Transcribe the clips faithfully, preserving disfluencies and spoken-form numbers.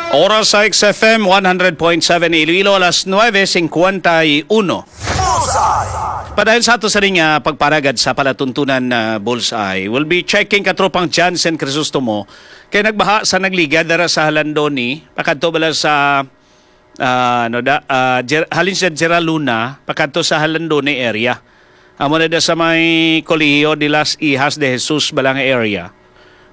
Oras sa X F M one hundred point seven Iloilo, alas nuebe cincuenta y uno. Bullseye! Padayon sa ato sa ring, ah, pagparagad sa palatuntunan na Bullseye, we'll be checking, Katropang Jansen Crisostomo, kay nagbaha sa nagligad dara sa Halandoni, pakadto bala sa, ah, ano da, ah, Jer-, halin sa Geraluna, pakadto sa Halandoni area. Amo na da sa may Colegio de las Hijas de Jesus bala nga area.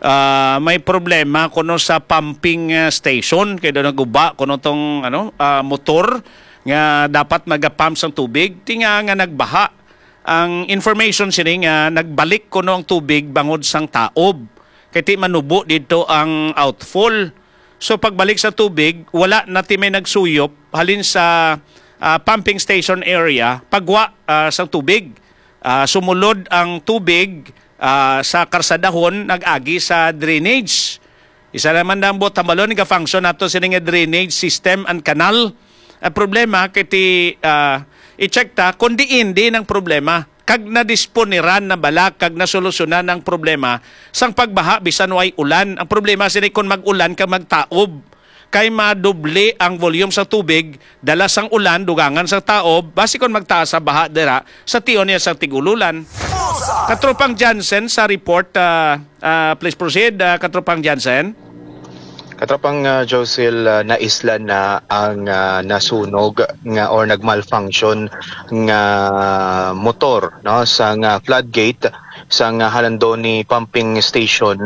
Ah, may problema kuno sa pumping, ah, station, kay daw naguba kuno tong, ano, ah, motor nga dapat magapump sang tubig, tinga nga nagbaha. Ang information sini nga nagbalik kuno ang tubig bangod sang taob, kay ti manubo dito ang outfall. So, pagbalik sa tubig, wala na ti may nagsuyop halin sa, ah, pumping station area, pagwa, ah, sang tubig. Ah, sumulod ang tubig, ah, sa karsadahon, nag-agi sa drainage. Isa naman na ang buot hambalon, ga-function nato sini nga drainage system and canal. Ang problema, kay ti, ah, i-check ta kung diin, diin ang problema. Kag nadisponiran na bala, kag nasolusyonan ang problema sang pagbaha bisan way ulan. Ang problema sini kung mag-ulan kag magtaob, kay madoble ang volume sa tubig, dala sang ulan, dugangan sang taob, basi kon magtaas sa baha dira sa tion niya sang tig-ululan. Katropang Jansen sa report, ah, ah, please proceed, ah, Katropang Jansen. Katropang, ah, Josil, ah, naisla na ang, ah, nasunog nga or nagmalfunction nga motor, no, sang, ah, floodgate sang, ah, Halandoni Pumping Station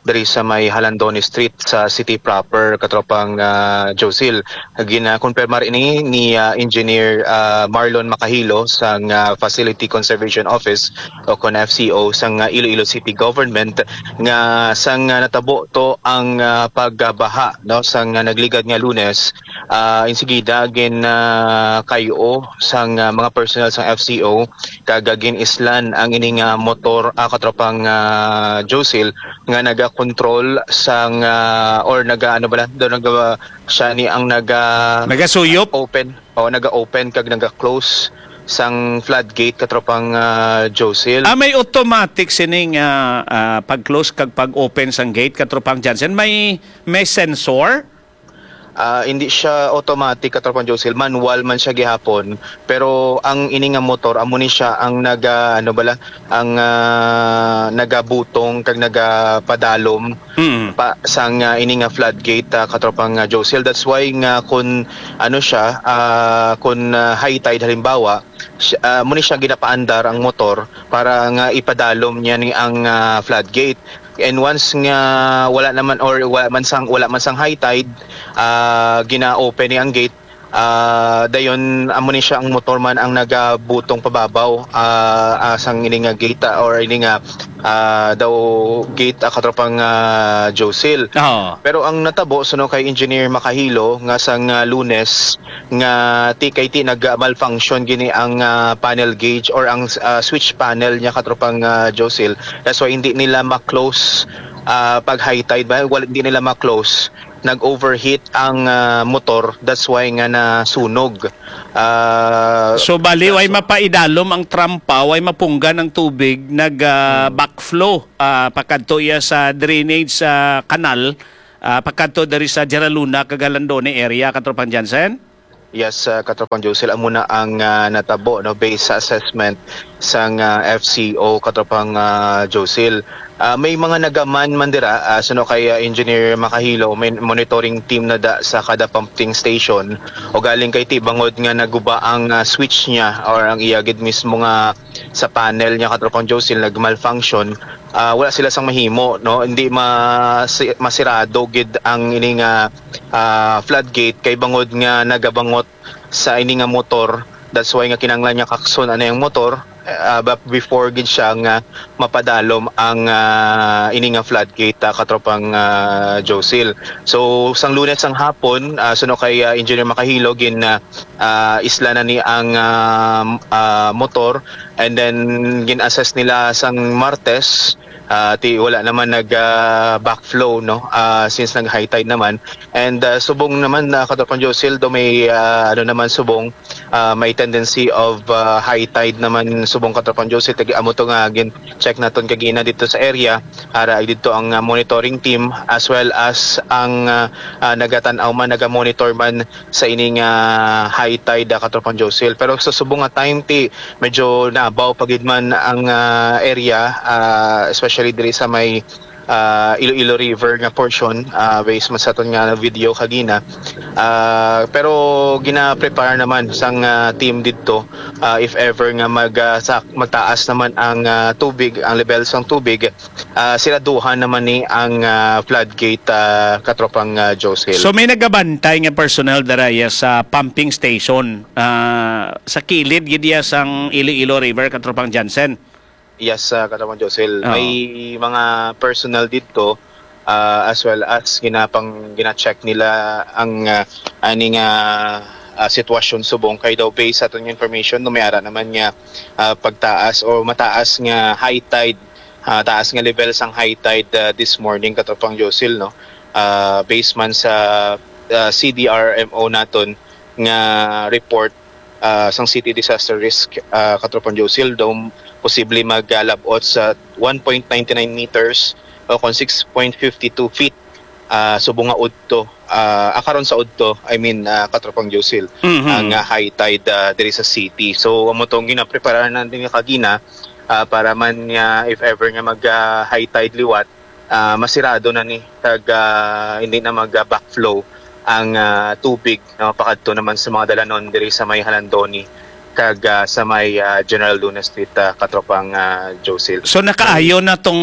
diri sa may Halandoni Street sa city proper, Katropang, ah, Josil. Gina-confirm ini ni, ah, Engineer, ah, Marlon Macahilo sang, ah, Facility Conservation Office o kon F C O sang, ah, Iloilo City Government nga sang, ah, natabo to ang, ah, pagbaha, no, sang, ah, nagligad nga Lunes, ah, insigida gin, ah, kay-o sang, ah, mga personnel sang F C O kag, ah, gin-islan ang ini nga motor, ah, Katropang, ah, Josil, nga nagakontrol sang, ah, or naga, ano bala, daw naga, siya ni ang naga Nagasuyop? open, o naga-open kag naga-close sang floodgate, Katropang, ah, Josil. Ah, may automatic sining, ah, ah, pag-close kag pag-open sang gate, Katropang Jansen? May, may sensor? Ah, hindi siya automatic, Katropang Josil. Manual man siya gihapon. Pero ang ini nga motor, amo ni siya ang naga, ano bala, ang, ah, nagabutong kag nagapadalom Mm. pa sang, ah, ini nga floodgate, ah, Katropang, ah, Josil. That's why nga kun, ano siya, ah, kun, ah, high tide halimbawa, siya, ah, amo ni siya ginapaandar ang motor para nga ipadalom niya ni ang, ah, floodgate. And once nga wala naman or wala man sang, wala man sang high tide, ah, gina-open ni ang gate, ah, dayon amo ni siya ang motor man ang nagabutong pababaw, ah, ah, sang ini nga gate, ah, or ini nga, ah, daw gate, ah, Katropang, ah, Josil. Oo. Pero ang natabo, suno kay Engineer Makahilo, nga sang, ah, Lunes, nga ti kay ti nag-malfunction gini ang, ah, panel gauge or ang, ah, switch panel niya, Katropang, ah, Josil. That's why hindi nila ma-close, ah, pag high tide ba, wala, hindi nila ma-close. Nag-overheat ang, ah, motor, that's why nga nasunog. Ah, So, bali, way so mapaidalom ang trampa, way mapunggan ang tubig, nag, ah, Hmm. backflow, ah, pakadto iya sa drainage sa kanal, ah, pakadto diri sa Geraluna kag Halandoni area, Katropang Jansen? Yes, ah, Katropang Josil, amo na ang, ah, natabo, no, based sa assessment sang, ah, F C O, Katropang, ah, Josil. Ah, may mga nagaman man dira, ah, suno kay, ah, Engineer Makahilo, may monitoring team na da sa kada pumping station. O galing kay ti bangod nga naguba ang, ah, switch niya or ang iya gid mismo nga sa panel niya, Katropang Josil, nag-malfunction. Ah, wala sila sang mahimo, no? Hindi ma-, si-, masirado gid ang ini nga, ah, floodgate kay bangod nga nagabangot sa ini nga motor. That's why nga kinahanglan niya kakson anay ang motor, ah, ba-, before gid siya nga mapadalom ang, ah, ini nga floodgate, ah, Katropang, ah, Josil. So, sang Lunes sang hapon, ah, suno kay, ah, Engineer Makahilo, gin, ah, ah, isla na ni ang, ah, ah, motor, and then gin-assess nila sang Martes, Ah, ti wala naman nag, ah, backflow, no? Ah, since nag-high tide naman. And, ah, subong naman, ah, Katropang Josil, do may, ah, ano naman, subong, ah, may tendency of, ah, high tide naman, subong, Katropang Josil. Tag-, amo to nga gin-check naton kagina dito sa area. Ara dito ang, ah, monitoring team as well as ang, ah, ah, nagatan-aw man, naga-monitor man sa ining, ah, high tide, ah, Katropang Josil. Pero sa subong nga time, ti medyo nabaw pa gid man ang, ah, area, ah, especially diri sa may, ah, Iloilo River nga portion, ah, based man sa aton nga video kagina. Ah, pero gina-prepare naman sang, ah, team didto, ah, if ever nga mag, ah, sak-, magtaas naman ang, ah, tubig, ang level sang tubig, ah, siraduhan naman ni ang, ah, floodgate, ah, Katropang, ah, Josil. So, may nagabantay nga personnel dara iya sa pumping station, ah, sa kilid gid iya sang Iloilo River, Katropang Jansen? Yes, ah, Katropang Josil. Oo. May mga personnel dito, ah, as well as ginapang, gina-check nila ang, ah, aning, ah, ah, sitwasyon subong kay daw based sa aton nga information, no, may ara naman nga, ah, pagtaas o mataas nga high tide, ah, taas nga level sang high tide, ah, this morning, Katropang Josil, no? Ah, based man sa, ah, C D R M O naton nga report, ah, sang City Disaster Risk, ah, Katropang Josil, daw posible magalabot sa one point nine nine meters o kon six point fifty two feet, ah, subong nga udto, ah, ah, karon sa udto, I mean, ah, Katropang Josil, Mhm. ang, ah, high tide, ah, diri sa city. So, amo tong ginapreparahan natin nga kagina, ah, para man nga if ever nga mag, ah, high tide liwat, ah, masirado na ni kag, ah, hindi na mag, ah, backflow ang, ah, tubig, no, pakadto naman sa mga dalanon diri sa may Halandoni kag, ah, sa may, ah, General Luna Street, ah, Katropang, ah, Josil. So, nakaayo na tong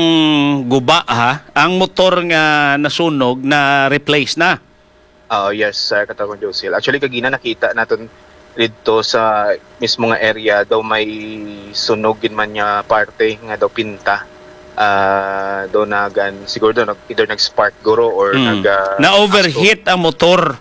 guba, ha? Ang motor nga nasunog, na-replace na? Ah, yes, ah, Katropang Josil. Actually, kagina nakita naton didto sa mismo nga area, daw may sunog gid man nga parte nga daw pinta. Ah, daw nagan-, siguro daw nag-, either nag-spark guro or Mm. nag, ah, Na-overheat ang motor.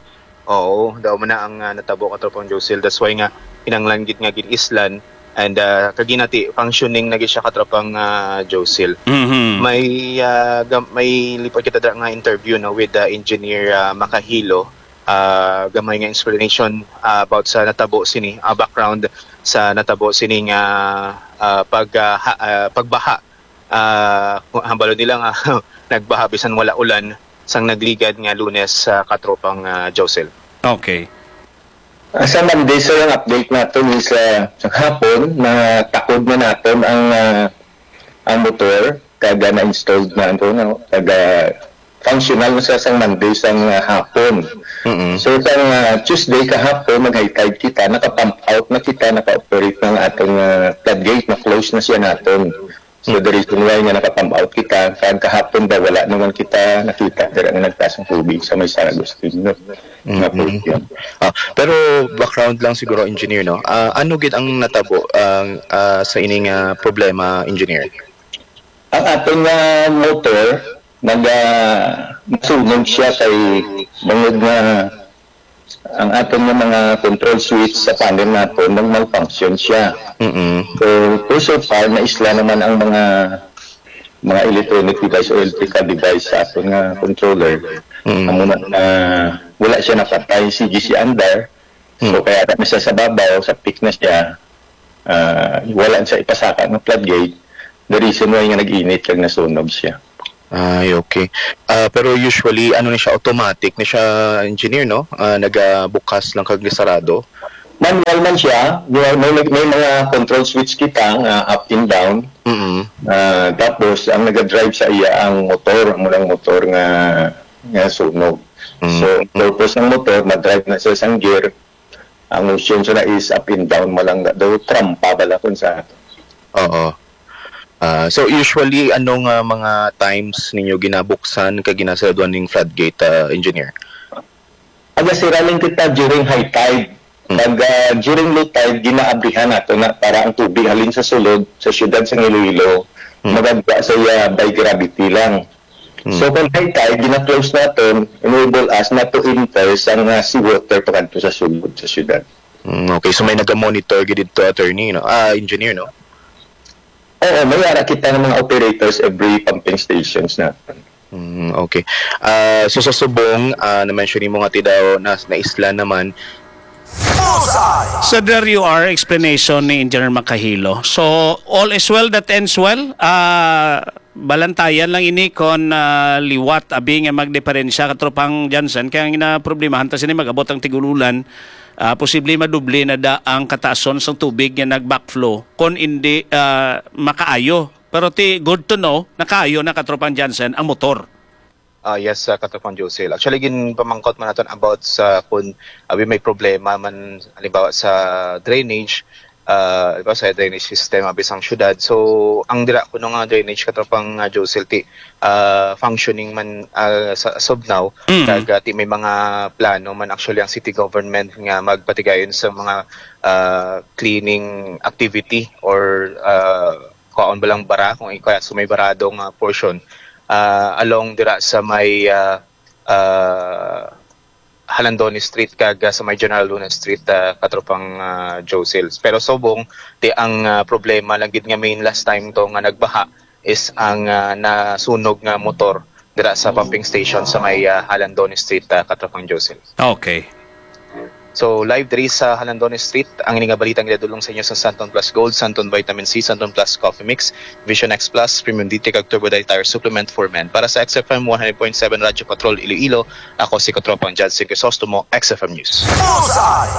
Oo, daw man na ang, ah, natabo, Katropang Josil. That's why nga kinahanglan gid nga gin-islan. And, ah, kagina ti functioning na gid siya, Katropang, ah, Josil. Mhm. May, ah, gam-, may lipat kita dira nga interview, no, with, ah, Engineer, ah, Makahilo. Ah, gamay nga explanation, ah, about sa natabo sini, ah, background sa natabo sini nga, ah, pag, ah, ha-, ah, pagbaha. Ah, hambalon nila nga nagbaha bisan wala ulan sang nagligad nga Lunes sa Katropang, ah, Josil. Okay. Ah, sa Monday, sir, ang update naton is, ah, sa hapon, natakod na naton ang, ah, ang motor, kag, ah, na-installed na, ano, no, kag, ah, functional na siya sang Monday sang, ah, hapon. Mm-mm. So, sang, ah, Tuesday kahapon, nag-high tide kita, naka-pump out na kita, naka-operate na ang atong, ah, floodgate, na-close na siya naton. So, the reason why nga naka-pump out kita, kag kahapon ba, wala naman kita nakita dira nga nagtaas ang tubig sa may San Agustin, no? Nga Mm-mm. portion. Ah, pero background lang siguro, engineer, no? Ah, ano gid ang natabo, ang, ah, sa ining, ah, problema, engineer? Ang aton nga motor, nag, ah, nasunog siya kay bangod nga ang aton nga mga control switch sa panel naton nag-malfunction siya. Mm-mm. So, so far, naisla naman ang mga, mga electronic device o electrical device sa aton nga controller. Mm. Amo na, ah, wala siya napatay. Sige si andar. So, Mm. kaya na siya sa babaw, sa peak na siya. Ah, wala siya ipasaka ng floodgate. The reason why nga nag-init kag nasunog siya. Ay, okay. Ah, pero usually, ano ni siya, automatic ni siya, engineer, no? Ah, nagabukas lang kag sarado. Manual man siya. May, may, may mga control switch kita nga up and down. Mm-mm. Ah, tapos, ang nagadrive sa iya ang motor, amo lang motor nga, nga sunog. Mm. So, purpose ng motor, madrive na siya sang gear. Ang motion sa na is up and down, mo lang daw trampa bala kun sa ato. Oo. Ah, so usually, ano nga mga times ninyo ginabuksan kag ginasaraduan ning floodgate, ah, engineer? Aga sira lang kita during high tide. Hmm. Pag, ah, during low tide, ginaabrihan nato na para ang tubig halin sa sulod sa siyudad sa Iloilo, Hmm. magagwa sa iya by gravity lang. Hmm. So, kung high tide, gina-close naton, enable us not to enter sa nga seawater pakadto sa sulod sa siyudad. Hmm, okay, so may naga-monitor gid dito, attorney, no? Ah, engineer, no? Oo, may ara kita ng mga operators every pumping stations na. Mm, okay. Ah, so sa subong, ah, na-mention mo nga ti daw na naisla naman. Sa W R explanation ni Engineer Makahilo. So, all is well that ends well. Ah, balantayan lang ini kon, ah, liwat abi nga magdiperensya, katropang Jansen, kay ang ginaproblemahan ta sini, mag-abot ang tig-ululan, ah, posible madubli na da ang kataason sang tubig nga nag-backflow kon hindi, ah, makaayo. Pero ti good to know, nakaayo na, katropang Jansen, ang motor. Ah, yes, uh, Katropang Josel. Actually, ginpamangkot man naton about sa kung abi may problema man, halimbawa sa drainage, uh, halimbawa sa drainage system abi sang syudad. So, ang dira kuno nga drainage, Katropang uh, Josel, ti uh, functioning man uh, sa as of now, Mm. kag uh, ti may mga plano man actually ang city government nga magpatigayon sa mga uh, cleaning activity or uh, kaon ba lang bara kung kaya sa may barado nga portion ah, along dira sa may ah, ah, Halandoni Street kag ah, sa may General Luna Street, ah, katropang ah, Josel. Pero subong, ti ang ah, problema lang gid nga main last time to nga nagbaha is ang ah, nasunog nga motor dira sa pumping station sa may ah, Halandoni Street, ah, katropang Josel. Okay. So, live diri sa Halandoni Street, ang ini nga balita ang ginadulong sa inyo sa Santon Plus Gold, Santon Vitamin C, Santon Plus Coffee Mix, Vision X Plus, Premium D three kag Turbo Diet Tire Supplement for Men. Para sa X F M one hundred point seven Radyo Patrol Iloilo, ako si Katropang Judson Crisostomo, X F M News.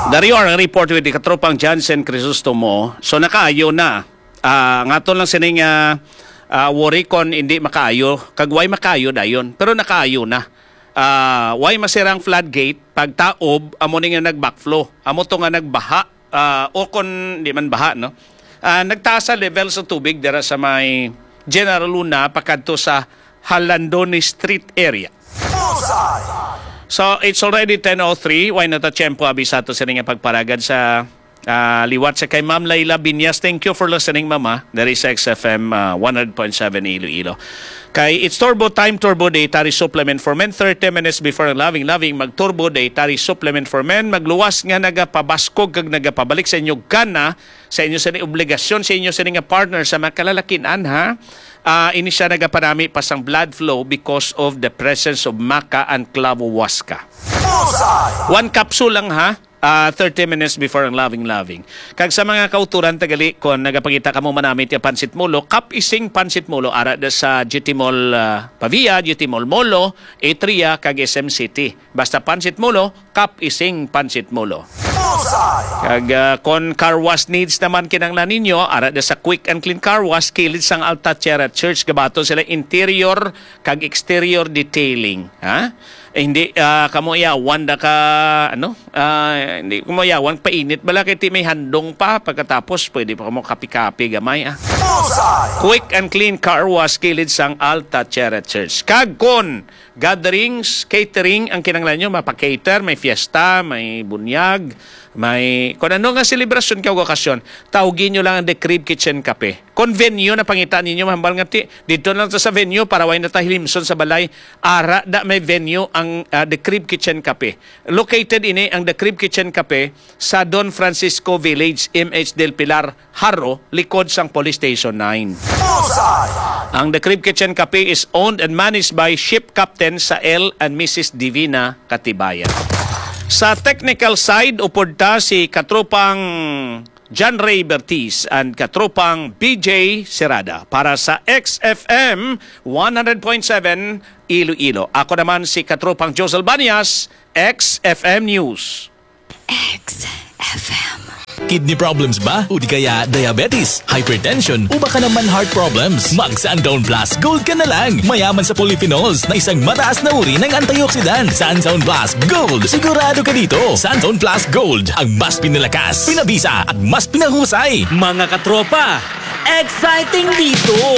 Dario, ang report with Katropang Jansen Crisostomo. So, nakaayo na. Ah, ngaton lang sining ah, ah, worry kon hindi makaayo. Kag way makaayo dayon. Pero nakaayo na. Ah, way masira ang floodgate, pagtaob, amo ni nga nag-backflow. Amo to nga nagbaha, ah, o kon di man baha, no? Ah, nagtaas sa level sa tubig dira sa may General Luna pakadto sa Halandoni Street area. So, it's already ten oh three. Way na ta tiyempo abi sa ato sini nga pagparagad sa ah, liwat sa kay Ma'am Laila Binyas. Thank you for listening, Mama. There is X F M ah, one hundred point seven Iloilo. Kay it's Turbo Time, Turbo Day, Tari Supplement for Men. Thirty minutes before ang loving, loving, mag Turbo Day, Tari Supplement for Men. Magluwas nga nagapabaskog kag nagapabalik sa inyo gana, sa inyo sa obligasyon, sa inyo sa nga partner sa mga kalalakinan, ha? Ah, ini siya nagapanami pa sang blood flow because of the presence of maca and clavo huasca. One capsule lang, ha? Ah, thirty minutes before ang loving loving. Kag sa mga kauturan tagali, kon nagapangita kamo manamit ya pansit molo, Kap Ising Pansit Molo, ara da sa G T Mall ah, Pavia, G T Mall Molo, Atria, kag S M City. Basta pansit molo, Kap Ising Pansit Molo. Kag ah, kon car wash needs naman kinanglan ninyo, ara da sa Quick and Clean Car Wash, kilid sang Alta Sierra Church, gabaton sila interior kag exterior detailing, ha? Eh, hindi ah, kamo yawan da ka ano? Ah, hindi kamo yawan painit bala kay ti may handong pa, pagkatapos pwede pa kamo kapi-kapi gamay, ah. Quick and Clean Car Wash, kilid sang Alta Sierra Church. Kag kon gatherings, catering ang kinanglan nyo, mapa-cater, may fiesta, may bunyag, may kon ano nga selebrasyon kag okasyon, tawgi nyo lang ang The Crib Kitchen Cafe. Kon venue na pangita ninyo, mahambal nga ti, didto lang ta sa venue para way na ta hilimson sa balay. Ara da may venue ang ah, The Crib Kitchen Cafe. Located ini ang The Crib Kitchen Cafe sa Don Francisco Village, M H Del Pilar, Jaro, likod sang Police Station nine. Ang The Crib Kitchen Cafe is owned and managed by Ship Captain Sael and Missus Divina Katibayan. Sa technical side, upod ta si katropang John Ray Bertiz and katropang B J Serada para sa X F M one hundred point seven Iloilo. Ako naman si katropang Josel Banias, X F M News. X F M. Kidney problems ba? O di kaya diabetes, hypertension, o baka naman heart problems? Mag Santon Plus Gold ka na lang. Mayaman sa polyphenols na isang mataas na uri ng antioxidant. Santon Plus Gold. Sigurado ka dito. Santon Plus Gold, ang mas pinalakas, pinabisa, at mas pinahusay. Mga katropa, exciting dito!